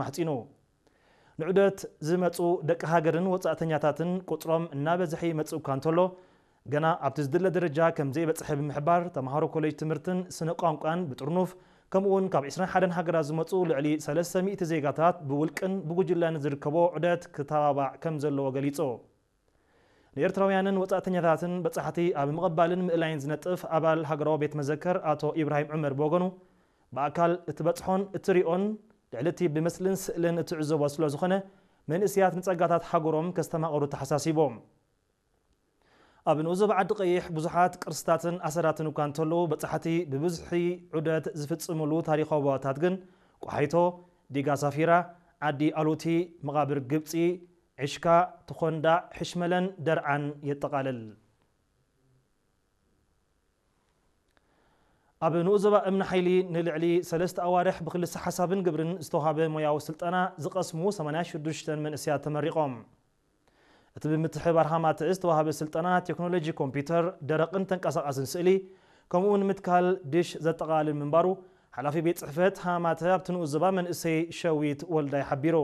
ማሕጺኑ። ንዑደት ዝመጹ ደቂ ሃገርን ወጻእተኛታትን ቁጽሮም እናበዝሐ ይመጽእ እኳ እንተሎ፣ ገና ኣብቲ ዝድለ ደረጃ ከም ዘይበጽሐ ብምሕባር፣ ተምሃሮ ኮሌጅ ትምህርትን ስነ ቋንቋን ብጥርኑፍ፣ ከምኡ'ውን ካብ ዕስራን ሓደን ሃገራት ዝመጹ ልዕሊ ሰለስተ ሚእቲ ዜጋታት ብውልቅን ብጉጅለን ዝርከቦ ዑደት ክተባባዕ ከም ዘለዎ ገሊጹ። ንኤርትራውያንን ወጻእተኛታትን በጻሕቲ ኣብ ምቕባልን ምእላይን ዝነጥፍ ኣባል ሃገራዊ ቤት መዘከር ኣቶ ኢብራሂም ዑመር ብወገኑ፣ ብኣካል እትበጽሖን እትሪኦን ልዕሊ እቲ ብምስልን ስእልን እትዕዘቦ ስለ ዝኾነ፣ መንእስያት ንጸጋታት ሃገሮም ከስተማቕሩ ተሓሳሲቦም። ኣብ ንኡስ ዞባ ዓዲ ቀይሕ ብዙሓት ቅርስታትን ኣሰራትን እኳ እንተለዉ፣ በጻሕቲ ብብዝሒ ዑደት ዝፍጽምሉ ታሪኻዊ ቦታታት ግን ቋሓይቶ፣ ዲጋ ሳፊራ፣ ዓዲ ኣሉቲ፣ መቓብር ግብጺ፣ ዕሽካ፣ ተኾንዳዕ፣ ሕሽመለን ደርዓን የጠቓልል። ኣብ ንኡስ ዞባ እምኒ ሓይሊ ንልዕሊ ሰለስተ ኣዋርሕ ብክልሰ ሓሳብን ግብርን ዝተዋህበ ሞያዊ ስልጠና ዝቐስሙ ሰማንያ ሽዱሽተ መንእስያት ተመሪቖም። እቲ ብምትሕብባር ሃማተ ዝተዋህበ ስልጠና ቴክኖሎጂ ኮምፒውተር፣ ደረቕን ተንቀሳቓስን ስእሊ፣ ከምኡ'ውን ምትካል ድሽ ዘጠቓልል ምንባሩ ሓላፊ ቤት ጽሕፈት ሃማተ ኣብቲ ንኡስ ዞባ መንእሰይ ሸዊት ወልዳይ ሓቢሩ።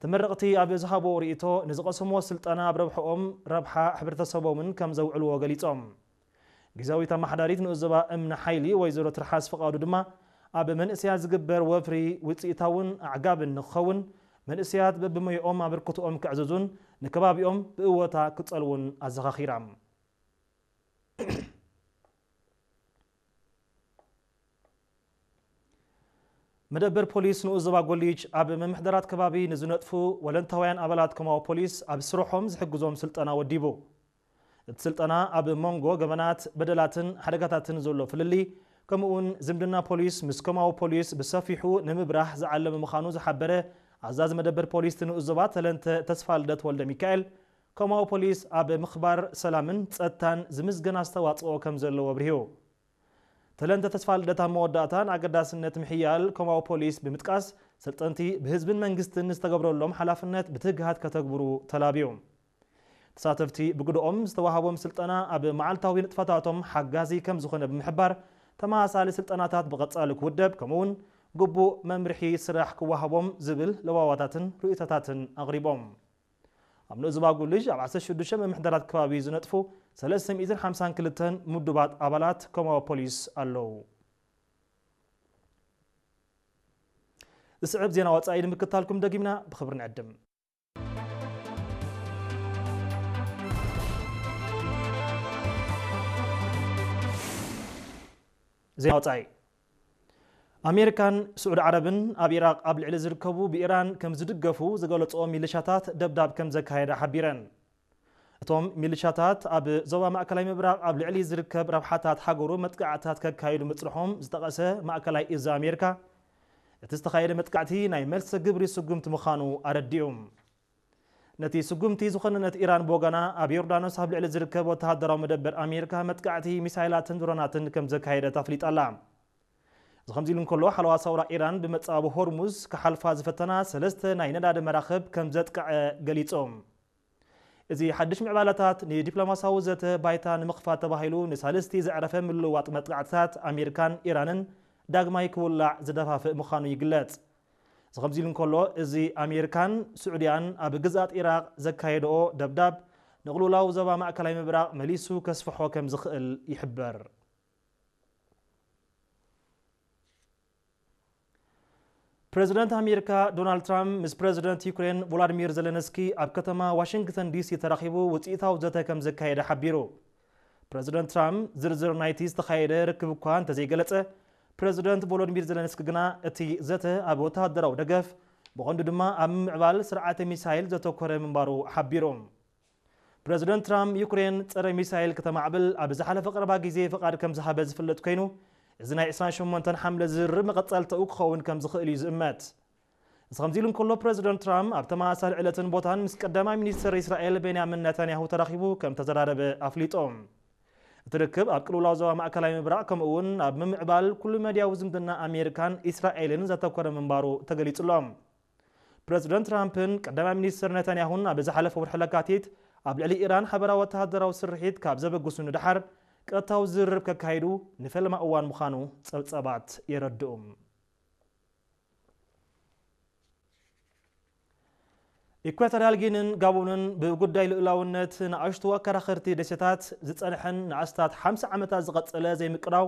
ተመረቕቲ ኣብ ዝሃብዎ ርእይቶ፣ ንዝቐሰምዎ ስልጠና ኣብ ረብሓኦም፣ ረብሓ ሕብረተሰቦምን ከም ዘውዕልዎ ገሊጾም። ግዝያዊት ኣመሓዳሪት ንኡስ ዞባ እምኒ ሓይሊ ወይዘሮ ትርሓስ ፍቓዱ ድማ፣ ኣብ መንእሰያት ዝግበር ወፍሪ ውጽኢታውን ኣዕጋብን ንክኸውን፣ መንእሰያት በብሞያኦም ኣበርክቶኦም ከዕዝዙን ንከባቢኦም ብእወታ ክጸልዉን ኣዘኻኺራ። መደበር ፖሊስ ንኡስ ዞባ ጎሊጅ ኣብ ምምሕዳራት ከባቢ ንዝነጥፉ ወለንታውያን ኣባላት ኮማዊ ፖሊስ ኣብ ስርሖም ዝሕግዞም ስልጠና ወዲቡ። እቲ ስልጠና ኣብ መንጎ ገበናት፣ በደላትን ሓደጋታትን ዘሎ ፍልልይ፣ ከምኡ'ውን ዝምድና ፖሊስ ምስ ኮማዊ ፖሊስ ብሰፊሑ ንምብራህ ዝዓለመ ምዃኑ ዝሓበረ ኣዛዚ መደበር ፖሊስ እቲ ንኡስ ዞባ ተለንተ ተስፋልደት ወልደ ሚካኤል፣ ኮማዊ ፖሊስ ኣብ ምኽባር ሰላምን ጸጥታን ዝምስገን ኣስተዋጽኦ ከም ዘለዎ ኣብሪሁ። ተለንተ ተስፋልደት ኣብ መወዳእታ ንኣገዳስነት ምሕያል ኮማዊ ፖሊስ ብምጥቃስ፣ ሰልጠንቲ ብህዝብን መንግስትን ዝተገብረሎም ሓላፍነት ብትግሃት ከተግብሩ ተላብዩ። ተሳተፍቲ ብግደኦም ዝተዋህቦም ስልጠና ኣብ መዓልታዊ ንጥፈታቶም ሓጋዚ ከም ዝኾነ ብምሕባር፣ ተመሳሳሊ ስልጠናታት ብቐጻሊ ክውደብ፣ ከምኡ'ውን ግቡእ መምርሒ ስራሕ ክወሃቦም ዝብል ለዋዋታትን ርእይቶታትን ኣቕሪቦም። ኣብ ንኡስ ዞባ ጉልጅ ኣብ ዓሰርተ ሽዱሽተ ምምሕዳራት ከባቢ ዝነጥፉ ሰለስተ ሚእትን ሓምሳን ክልተን ምዱባት ኣባላት ኮማዊ ፖሊስ ኣለዉ። ዝስዕብ ዜና ወጻኢ ንምክታልኩም ደጊምና ብኽብሪ ንዕድም። ዜና ወጻኢ። ኣሜሪካን ስዑዲ ዓረብን ኣብ ኢራቕ ኣብ ልዕሊ ዝርከቡ ብኢራን ከም ዝድገፉ ዝገለጽኦ ሚሊሻታት ደብዳብ ከም ዘካየዳ ሓቢረን። እቶም ሚሊሻታት ኣብ ዞባ ማእከላይ ምብራቕ ኣብ ልዕሊ ዝርከብ ረብሓታት ሃገሩ መጥቃዕትታት ከካይዱ ምጽንሖም ዝጠቐሰ ማእከላይ እዝ ኣሜሪካ፣ እቲ ዝተኻየደ መጥቃዕቲ ናይ መልሲ ግብሪ ስጉምቲ ምዃኑ ኣረዲኡ። ነቲ ስጉምቲ ዝኾነነት ኢራን ብወገና፣ ኣብ ዮርዳኖስ ኣብ ልዕሊ ዝርከብ ወተሃደራዊ መደበር ኣሜሪካ መጥቃዕቲ ሚሳይላትን ድሮናትን ከም ዘካየደት ኣፍሊጣ ኣላ። እዚ ከምዚ ኢሉ እንከሎ፣ ሓለዋ ሰውራ ኢራን ብመጻብ ሆርሙዝ ክሓልፋ ዝፈተና ሰለስተ ናይ ነዳዲ መራኽብ ከም ዘጥቅዐ ገሊጹ። እዚ ሓድሽ ምዕባለታት ንዲፕሎማሲያዊ ዘተ ባይታ ንምኽፋት ተባሂሉ ንሳልስቲ ዘዕረፈ ምልውዋጥ መጥቃዕትታት ኣሜሪካን ኢራንን ዳግማይ ክውላዕ ዝደፋፍእ ምዃኑ ይግለጽ። እዚ ከምዚ ኢሉ እንከሎ፣ እዚ ኣሜሪካን ስዑድያን ኣብ ግዝኣት ኢራቕ ዘካየድኦ ደብዳብ ንቕልውላው ዞባ ማእከላይ ምብራቕ መሊሱ ከስፍሖ ከም ዝኽእል ይሕበር። ፕረዚደንት ኣሜሪካ ዶናልድ ትራምፕ ምስ ፕረዚደንት ዩክሬን ቮላድሚር ዘለንስኪ ኣብ ከተማ ዋሽንግተን ዲሲ ተራኺቡ ውጽኢታዊ ዘተ ከም ዘካየደ ሓቢሩ። ፕረዚደንት ትራምፕ ዝርዝር ናይቲ ዝተኻየደ ርክብ እኳ እንተዘይገለጸ፣ ፕረዚደንት ቮሎዲሚር ዘለንስኪ ግና እቲ ዘተ ኣብ ወተሃደራዊ ደገፍ፣ ብቐንዱ ድማ ኣብ ምምዕባል ስርዓተ ሚሳይል ዘተኮረ ምንባሩ ሓቢሩ። ፕረዚደንት ትራምፕ ዩክሬን ጸረ ሚሳይል ከተማዕብል ኣብ ዝሓለፈ ቀረባ ግዜ ፍቓድ ከም ዝሃበ ዝፍለጥ ኮይኑ፣ እዚ ናይ ዕስራን ሸሞንተን ሓምለ ዝርርብ መቐጸልታኡ ክኸውን ከም ዝኽእል እዩ ዝእመት። እዚ ከምዚ ኢሉ እንከሎ፣ ፕረዚደንት ትራምፕ ኣብ ተመሳሳሊ ዕለትን ቦታን ምስ ቀዳማይ ሚኒስትር እስራኤል ቤንያሚን ነታንያሁ ተራኺቡ ከም ተዘራረበ ኣፍሊጡ። እቲ ርክብ ኣብ ቅልውላው ዞባ ማእከላይ ምብራቕ ከምኡ እውን ኣብ ምምዕባል ኩሉ መድያዊ ዝምድና ኣሜሪካን እስራኤልን ዘተኮረ ምንባሩ ተገሊጹ ኣሎ። ፕረዚደንት ትራምፕን ቀዳማይ ሚኒስትር ነታንያሁን ኣብ ዝሓለፈ ወርሒ ለካቲት ኣብ ልዕሊ ኢራን ሓበራዊ ወተሃደራዊ ስርሒት ካብ ዘበግሱ ንደሓር ቀጥታዊ ዝርርብ ከካይዱ ንፈለማ እዋን ምዃኑ ጸብጸባት የረድኡ። ኢኳቶርያል ጊኒን ጋቦንን ብጉዳይ ልኡላውነት ንኣሽቱ ኣከራኸርቲ ደሴታት ዝጸንሐን ንኣስታት ሓምሳ ዓመታት ዝቐጸለ ዘይምቅራው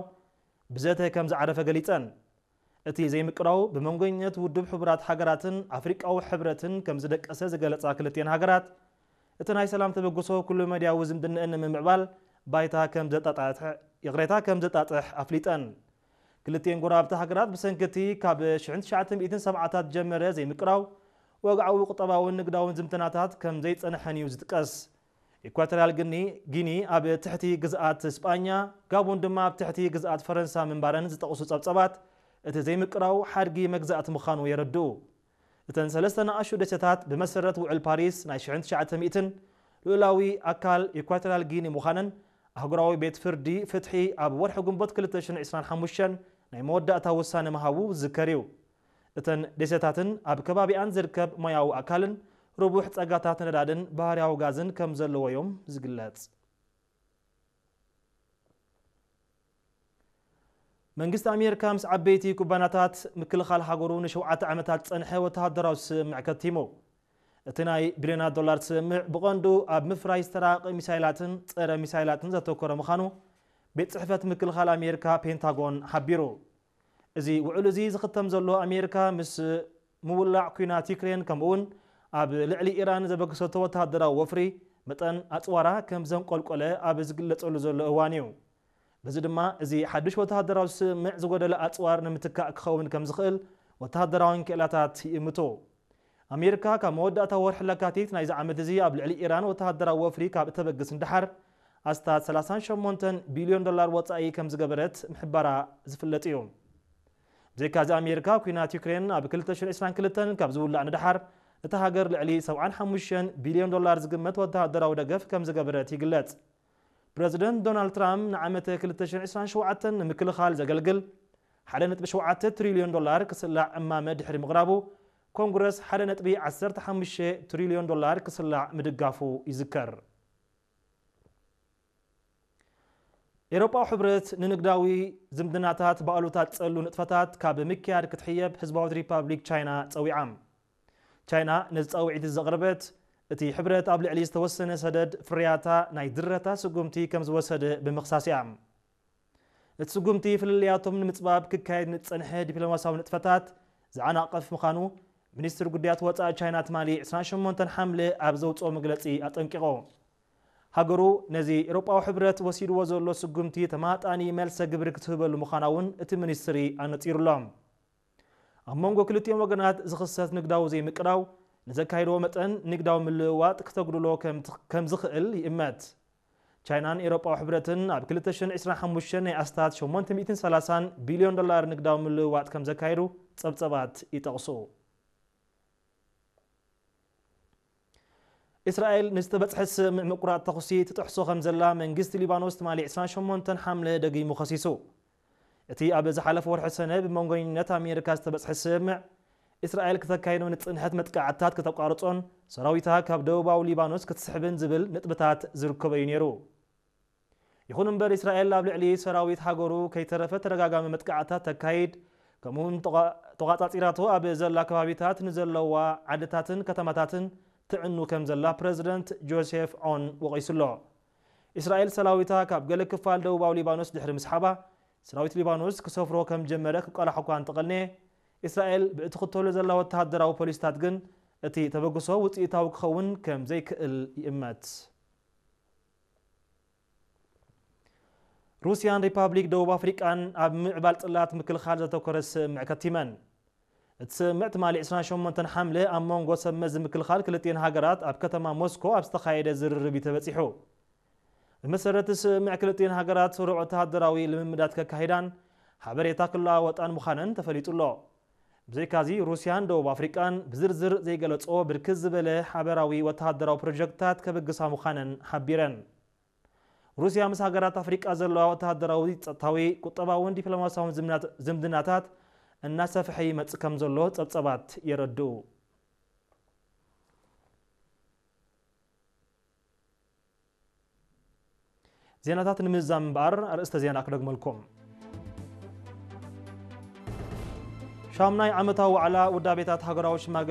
ብዘተ ከም ዝዓረፈ ገሊጸን። እቲ ዘይምቅራው ብመንጎኝነት ውድብ ሕቡራት ሃገራትን ኣፍሪቃዊ ሕብረትን ከም ዝደቀሰ ዝገለጻ ክልቲኤን ሃገራት፣ እቲ ናይ ሰላም ተበግሶ ኩሉ መድያዊ ዝምድነአን ንምምዕባል ባይታ ከም ዘጣጣሕ፣ ይቕሬታ ከም ዘጣጥሕ ኣፍሊጠን። ክልቲኤን ጎረባብቲ ሃገራት ብሰንኪ እቲ ካብ ሽሕን ትሽዓተ ሚእትን ሰብዓታት ጀመረ ዘይምቅራው፣ ወግዓዊ ቁጠባውን ንግዳውን ዝምድናታት ከም ዘይጸንሐን እዩ ዝጥቀስ። ኢኳቶርያል ግኒ፣ ጊኒ ኣብ ትሕቲ ግዝኣት ስጳኛ፣ ጋቦን ድማ ኣብ ትሕቲ ግዝኣት ፈረንሳ ምንባረን ዝጠቕሱ ጸብጸባት፣ እቲ ዘይምቅራው ሓድጊ መግዛእቲ ምዃኑ የረድኡ። እተን ሰለስተ ንኣሽቱ ደሴታት ብመሰረት ውዕል ፓሪስ ናይ ሽሕን ትሽዓተ ሚእትን ልኡላዊ ኣካል ኢኳቶርያል ጊኒ ምዃነን ኣህጉራዊ ቤት ፍርዲ ፍትሒ ኣብ ወርሒ ግንቦት ክልተ ሽሕን ዕስራን ሓሙሽተን ናይ መወዳእታ ውሳነ ምሃቡ ዝዝከር እዩ። እተን ደሴታትን ኣብ ከባቢኣን ዝርከብ ማያዊ ኣካልን ርቡሕ ጸጋታት ነዳድን ባህርያዊ ጋዝን ከም ዘለዎ እዮም ዝግለጽ። መንግስቲ ኣሜሪካ ምስ ዓበይቲ ኩባንያታት ምክልኻል ሃገሩ ንሸውዓተ ዓመታት ዝጸንሐ ወተሃደራዊ ስምምዕ ከቲሙ። እቲ ናይ ቢልዮናት ዶላር ስምምዕ ብቐንዱ ኣብ ምፍራይ ዝተራቐቐ ሚሳይላትን ጸረ ሚሳይላትን ዘተኮረ ምዃኑ ቤት ጽሕፈት ምክልኻል ኣሜሪካ ፔንታጎን ሓቢሩ። እዚ ውዕል እዚ ዝኽተም ዘሎ ኣሜሪካ ምስ ምውላዕ ኲናት ዩክሬን ከምኡውን ኣብ ልዕሊ ኢራን ዘበገሰቶ ወተሃደራዊ ወፍሪ መጠን ኣጽዋራ ከም ዘንቆልቆለ ኣብ ዝግለጸሉ ዘሎ እዋን እዩ። በዚ ድማ እዚ ሓድሽ ወተሃደራዊ ስምምዕ ዝጎደለ ኣጽዋር ንምትካእ ክኸውን ከም ዝኽእል ወተሃደራውያን ክእላታት ይእምቱ። ኣሜሪካ ካብ መወዳእታ ወርሒ ለካቲት ናይዚ ዓመት እዚ ኣብ ልዕሊ ኢራን ወተሃደራዊ ወፍሪ ካብ እተበግስ ንደሓር ኣስታት ሰላሳን ሸሞንተን ቢልዮን ዶላር ወጻኢ ከም ዝገበረት ምሕባራ ዝፍለጥ እዩ። ብዘይካዚ ኣሜሪካ ኲናት ዩክሬን ኣብ ክልተ ሽሕን ዕስራን ክልተን ካብ ዝውላዕ ንደሓር እታ ሃገር ልዕሊ ሰብዓን ሓሙሽተን ቢልዮን ዶላር ዝግመት ወተሃደራዊ ደገፍ ከም ዝገበረት ይግለጽ። ፕረዚደንት ዶናልድ ትራምፕ ንዓመተ ክልተ ሽሕን ዕስራን ሸውዓተን ንምክልኻል ዘገልግል ሓደ ነጥቢ ሸውዓተ ትሪልዮን ዶላር ክስላዕ እማመ ድሕሪ ምቕራቡ፣ ኮንግረስ ሓደ ነጥቢ ዓሰርተ ሓሙሽተ ትሪልዮን ዶላር ክስላዕ ምድጋፉ ይዝከር። ኤውሮጳዊ ሕብረት ንንግዳዊ ዝምድናታት ብኣሉታ ዝጸሉ ንጥፈታት ካብ ምክያድ ክትሕየብ ህዝባዊት ሪፓብሊክ ቻይና ጸዊዓ። ቻይና ነዚ ጻውዒት ዘቕረበት፣ እቲ ሕብረት ኣብ ልዕሊ ዝተወሰነ ሰደድ ፍርያታ ናይ ድረታ ስጉምቲ ከም ዝወሰደ ብምኽሳስ እያ። እቲ ስጉምቲ ፍልልያቶም ንምጽባብ ክካየድ ንዝጸንሐ ዲፕሎማስያዊ ንጥፈታት ዝዓናቕፍ ምዃኑ ሚኒስትሪ ጉዳያት ወጻኢ ቻይና ትማሊ ዕስራን ሸሞንተን ሓምለ ኣብ ዘውጽኦ መግለጺ ኣጠንቂቑ። ሃገሩ ነዚ ኤውሮጳዊ ሕብረት ወሲድዎ ዘሎ ስጉምቲ ተማጣኒ መልሰ ግብሪ ክትህበሉ ምዃና እውን እቲ ሚኒስትሪ ኣነጺሩሎም። ኣብ መንጎ ክልቲኦም ወገናት ዝኽሰት ንግዳዊ ዘይምቅራው ንዘካይድዎ መጠን ንግዳዊ ምልውዋጥ ክተጉድሎ ከም ትኽ-፣ ከም ዝኽእል ይእመት። ቻይናን ኤውሮጳዊ ሕብረትን ኣብ ክልተ ሽሕን ዕስራን ሓሙሽተን ናይ ኣስታት ሸሞንተ ሚእትን ሰላሳን ቢልዮን ዶላር ንግዳዊ ምልውዋጥ ከም ዘካየዱ ጸብጸባት ይጠቕሱ። እስራኤል ንዝተበጽሐ ስምምዕ ምቁራጽ ተኹሲ ትጥሕሶ ከም ዘላ መንግስቲ ሊባኖስ ትማሊ ዕስራን ሸሞንተን ሓምለ ደጊሙ ከሲሱ። እቲ ኣብ ዝሓለፈ ወርሒ ሰነ ብመንጎኝነት ኣሜሪካ ዝተበጽሐ ስምምዕ፣ እስራኤል ክተካይዶ ንጽንሐት መጥቃዕትታት ክተቋርጾን ሰራዊታ ካብ ደቡባዊ ሊባኖስ ክትስሕብን ዝብል ነጥብታት ዝርከቦ እዩ ነይሩ። ይኹን እምበር፣ እስራኤል ኣብ ልዕሊ ሰራዊት ሃገሩ ከይተረፈ ተደጋጋሚ መጥቃዕትታት ተካይድ፣ ከምኡውን ተቋ-፣ ተቋጻጺራቶ ኣብ ዘላ ከባቢታት ንዘለዋ ዓድታትን ከተማታትን ትዕኑ ከም ዘላ ፕረዚደንት ጆሴፍ ዖን ወቒሱ ኣሎ። እስራኤል ሰራዊታ ካብ ገለ ክፋል ደቡባዊ ሊባኖስ ድሕሪ ምስሓባ፣ ሰራዊት ሊባኖስ ክሰፍሮ ከም ጀመረ ክቃላሖ እኳ እንተቐንየ፣ እስራኤል ብእትኽተሎ ዘላ ወተሃደራዊ ፖሊስታት ግን እቲ ተበግሶ ውጽኢታዊ ክኸውን ከም ዘይክእል ይእመት። ሩስያን ሪፓብሊክ ደቡብ ኣፍሪቃን ኣብ ምዕባል ጽላት ምክልኻል ዘተኮረ ስምምዕ ከቲመን። እቲ ስምምዕ ትማሊ ዕስራን ሸሞንተን ሓምለ ኣብ መንጎ ሰብ መዚ ምክልኻል ክልቲኤን ሃገራት ኣብ ከተማ ሞስኮ ኣብ ዝተኻየደ ዝርርብ እዩ ተበጺሑ። ብመሰረት እቲ ስምምዕ ክልቲኤን ሃገራት ስሩዕ ወተሃደራዊ ልምምዳት ከካይዳን ሓበሬታ ክለዋወጣን ምዃነን ተፈሊጡ ኣሎ። ብዘይካዚ ሩስያን ደቡብ ኣፍሪቃን ብዝርዝር ዘይገለጾ ብርክት ዝበለ ሓበራዊ ወተሃደራዊ ፕሮጀክትታት ከበግሳ ምዃነን ሓቢረን። ሩስያ ምስ ሃገራት ኣፍሪቃ ዘለዋ ወተሃደራዊ፣ ጸጥታዊ፣ ቁጠባውን ዲፕሎማስያውን ዝምናት-፣ ዝምድናታት እናሰፍሐ ይመጽእ ከም ዘሎ ጸብጸባት የረድኡ። ዜናታት ንምዝዛም እምበኣር ኣርእስተ ዜና ክደግመልኩም። ሻምናይ ዓመታዊ ዋዕላ ውዳቤታት ሃገራዊ ሽማግለ